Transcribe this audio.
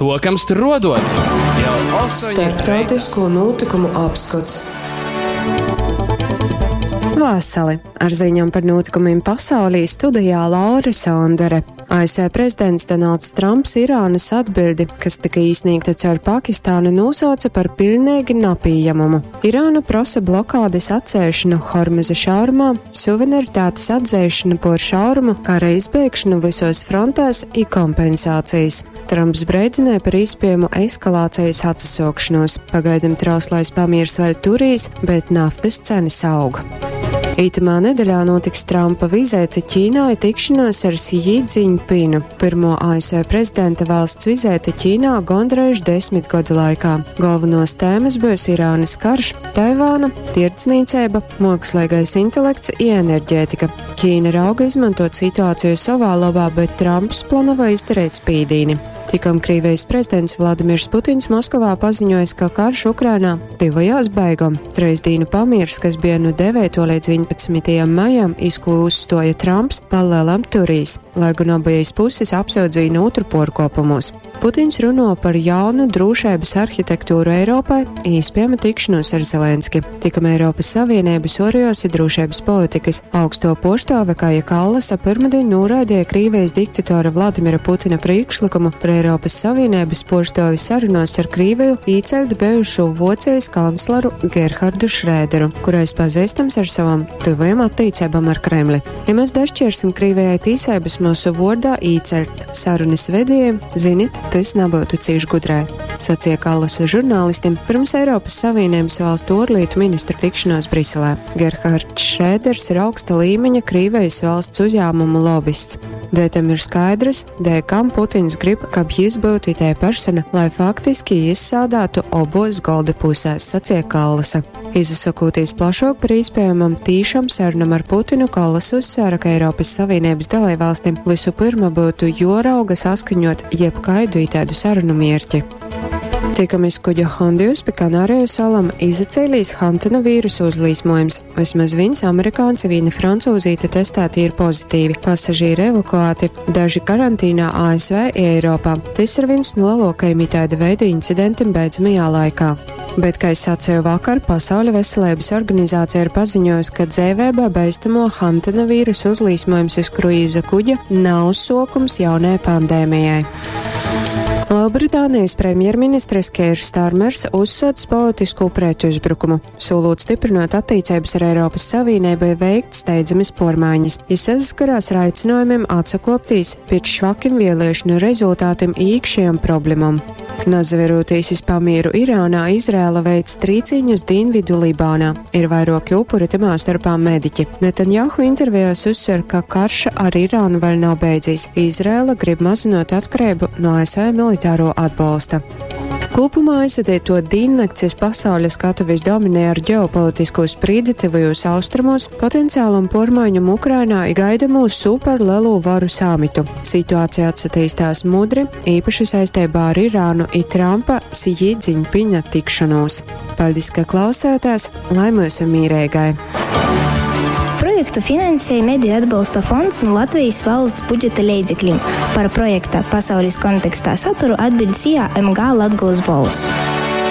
Sokam struodot! Jau 8 reitā. Starptautisko nūtykumu apskots. Vasali! Ar ziņām par notikumiem pasaulī studijā Laura Sondere. ASV prezidents Donalds Trumps Irānas atbildi, kas tika īsniegta caur Pakistānu, nosauca par pilnīgi napieņemamu. Irāna prasa blokādes atcelšanu Hormuza šaurumā, suverenitātes atzīšanu por šaurumu, kara izbeigšanu visos frontēs i kompensācijas. Trumps brēdināja par iespējamu eskalācijas atsasokšanos. Pagaidam trauslais pamiers vēl turīs, bet naftas cenas aug. Itamā nedēļā notiks Trumpa vizīte Ķīnā i tikšanās ar Xi Jinpingu, pirmo ASV prezidenta valsts vizīte Ķīnā gondreiž 10 gadu laikā. Galvenos tēmas būs Irānas karš, Taivāna, tirdzniecība, mākslīgais intelekts i enerģētika. Ķīna rauga izmantot situāciju savā labā, bet Trumps plāno izdarīt spīdīni. Tikam Krievijas prezidents Vladimirs Putins Moskovā paziņojis, ka karš Ukrainā tuvojās beigām. Treisdīnu pamiers, kas bija no 9. līdz 11. maijam, iz ko uzstoja Trumps, palielam turīs, lai gan abejas puses apsūdzīja otru porkopumos. Putins runo par jaunu drošības arhitektūru Eiropai, iespējama tikšanos ar Zelenski. Tikam Eiropas Savienības oriosi drošības politikas augsto poštāve Kaja Kallasa pirmdien noraidīja Krievijas diktatora Vladimira Putina priekšlikumu par Eiropas Savienības poštāvi sarunās ar Krieviju īceļt bijušo Vocijas kancleru Gerhardu Šrēderu, kurais pazīstams ar savam tuvajam attiecībām ar Kremli. Ja mēs dašķirsim Krievijai tīsības mūsu vordā īceļt sarunas vedējiem, zinit, tas nebūtu cīši gudrai, sacīja Kallasa žurnālistiem pirms Eiropas Savienības valstu ārlietu ministru tikšanās Briselē. Gerhards Šrēders ir augsta līmeņa Krievijas valsts uzņēmumu lobists. Dēļ tam ir skaidrs, dēļ kam Putins grib, kab jis būtu itē persona, lai faktiski izsādātu obos golda pusēs, sacīja Kallasa. Izsakoties plašāk par iespējamam tīšam sarunam ar Putinu, Kallas uzsvēra, ka Eiropas Savienības dalībvalstīm visu pirma būtu jorauga saskaņot jebkaidu itādu sarunu mierķi. Tikamies kuģa Hondius pie Kanāriju salām izacēlīs Hantana vīrusu uzlīsmojums. Vismaz viens amerikānis, viena francūzīte testēti ir pozitīvi, pasažīri evakuēti, daži karantīnā ASV i Eiropā. Tas ir viens no lielākajiem itāda veida incidentiem beidzamajā laikā. Bet, kā es sacīju vakar, Pasaules veselības organizācija ir paziņojusi, ka dzēvēbā beistamo Hantana vīrusu uzlīsmojums uz kruīza kuģa nav sokums jaunai pandēmijai. Lielbritānijas premjerministrs Keirs Starmers uzsots politisku pretuzbrukumu, solot stiprinot attiecības ar Eiropas Savienību veikt steidzamas pormaiņas. Jis saskarās ar aicinājumiem atsakoptīs pēc švakiem vēlēšanu rezultātiem īkšējām problemām. Nazaverotīs iz pamieru Irānā, Izrēla veic trīciņus Dienvidu Libānā. Ir vairoki upuri, tamā starpā mediķi. Netanjahu intervijās uzsver, ka karš ar Irānu vēl nav beidzies. Izrēla grib mazinot atkarību no ASV militāro atbalsta. Kopumā aizvadīto diennakts iz pasauļa skatuves dominē ar ģeopolitisko sprīdzi tuvajos austrumos, potenciālam pormaiņam Ukrainā i gaidamo superlielo varu samitu. Situācija atsatīstās mudri, īpaši saistībā ar Irānu i Trumpa Xi Jinpinga tikšanos. Paldies, ka klausāties, lai mūsu mīrēgai! Projektu finansēja Mediju atbalsta fonds no Latvijas valsts budžeta leidzekļiem. Par projekta pasaules kontekstā saturu atbild SIA MG Latgolas Bols.